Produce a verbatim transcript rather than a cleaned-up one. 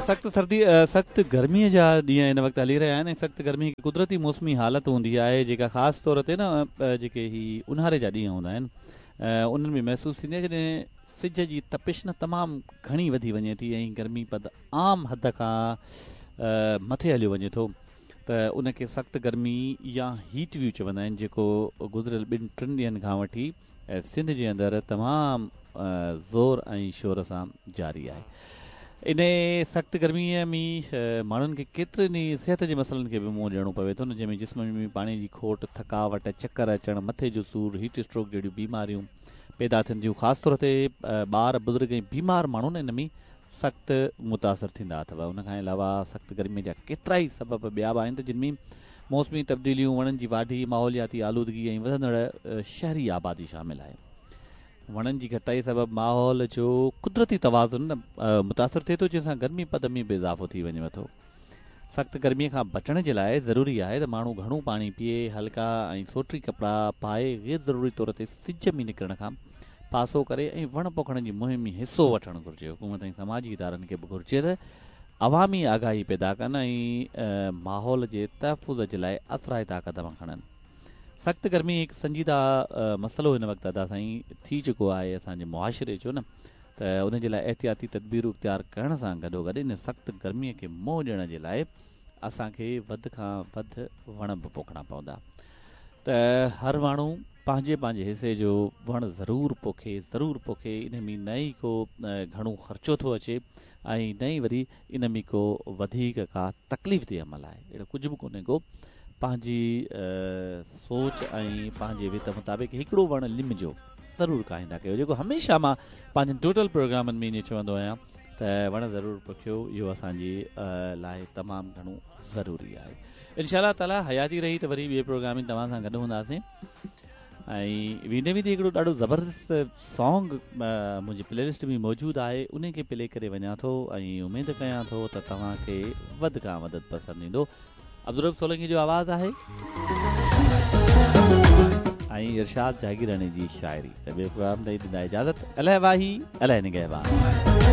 سخت سردي سخت گرميءَ جا ڏينهن هن وقت هلي رهيا آهن ۽ سخت گرمي هڪ قدرتي موسمي حالت هوندي آهي، جيڪا خاص طور تي نه جيڪي هي اونهاري جا ڏينهن هوندا آهن انهن ۾ محسوس ٿيندي آهي، جڏهن سج جي تپش نه تمام گهڻي وڌي وڃي ٿي ۽ گرمي پد عام حد کان مٿي هليو وڃي ٿو ته ان کي سخت گرمي يا هيٽ ويو چوندا آهن، جيڪو گذريل ٻن ٽن ڏينهن کان وٺي سنڌ جي اندر تمام زور ۽ شور سان جاري آهي. ان سخت گرميءَ ۾ ماڻهن کي ڪيترن ئي صحت جي مسئلن کي به منهن ڏيڻو پوي ٿو، جنهن ۾ جسم ۾ پاڻي جي کوٽ، ٿڪاوٽ، چڪر اچڻ، مٿي جو سور، هيٽ اسٽروڪ جهڙيون بيماريون پيدا ٿين ٿيون. خاص طور تي ٻار، بزرگ ۽ بيمار ماڻهو ان ۾ سخت متاثر ٿيندا اٿو. ان کان علاوه سخت گرميءَ جا ڪيترا ئي سبب ٻيا به آهن ته جن ۾ موسمي تبديليون، وڻن جي واڍي، ماحولياتي آلودگي ۽ وڌندڙ شهري آبادي شامل آهي. وڻن جي گهٽتائي سبب ماحول جو قدرتي توازن متاثر ٿئي ٿو، جنهن سان گرمي پد ۾ به اضافو ٿي وڃي ٿو. سخت گرميءَ کان بچڻ جي لاءِ ضروري آهي ته ماڻهو گهڻو پاڻي پيئي، هلڪا ۽ سوٽي ڪپڙا پائي، غير ضروري طور تي سج ۾ نڪرڻ کان پاسو ڪري ۽ وڻ پوکڻ جي مهم ۾ حصو وٺڻ گهرجي. حڪومت ۽ سماجي ادارن کي به گهرجي ته عوامي آگاهي پيدا ڪن ۽ ماحول جي تحفظ جي لاءِ اثرائتا قدم کڻن. سخت گرمي هڪ سنجيده مسئلو هن وقت ادا سائين ٿي چڪو آهي اسان جي معاشري جو نه، ته ان جي لاءِ احتياطي تدبيرون اختيار ڪرڻ سان گڏوگڏ ان سخت گرميءَ کي منهن ڏيڻ جي لاءِ اسان کي وڌ کان وڌ وڻ به پوکڻا پوندا. ته هر ماڻهو پنهنجي پنهنجي حصي جو وڻ ضرور پوکي، ضرور پوکي. ان ۾ نه ئي ڪو گهڻو خرچو ٿو اچي ۽ نه ئي وري ان ۾ ڪو وڌيڪ ڪا تڪليف تي عمل آهي، اهڙو ڪجهه به ڪونهي ڪو. پنهنجي سوچ ۽ پنهنجي وت مطابق هڪڙو وڻ لم جو ضرور کائيندا ڪيو، جيڪو هميشه مان پنهنجن ٽوٽل پروگرامن ۾ ائين چوندو آهيان ته وڻ ضرور پوکيو، اهو اسان جي لاءِ تمام گهڻو ضروري آهي. انشاء الله تعاليٰ حياتي رهي ته وري ٻئي پروگرام ۾ توهان سان گڏ هونداسين. ۽ ويندي ويندي هڪڙو ڏاڍو زبردست سانگ منهنجي پلي لسٽ ۾ موجود آهي، ان کي پلي ڪري وڃان ٿو ۽ اميد ڪيان ٿو ته توهان کي وڌ کان وڌ پسند ايندو. عبدالرؤف سولنگي جو آواز آهي ۽ ارشاد جاگيراڻي جي شاعري. ته ٻئي پروگرام تائين ڏيندا اجازت. الائي واهي، الائي نگهبان.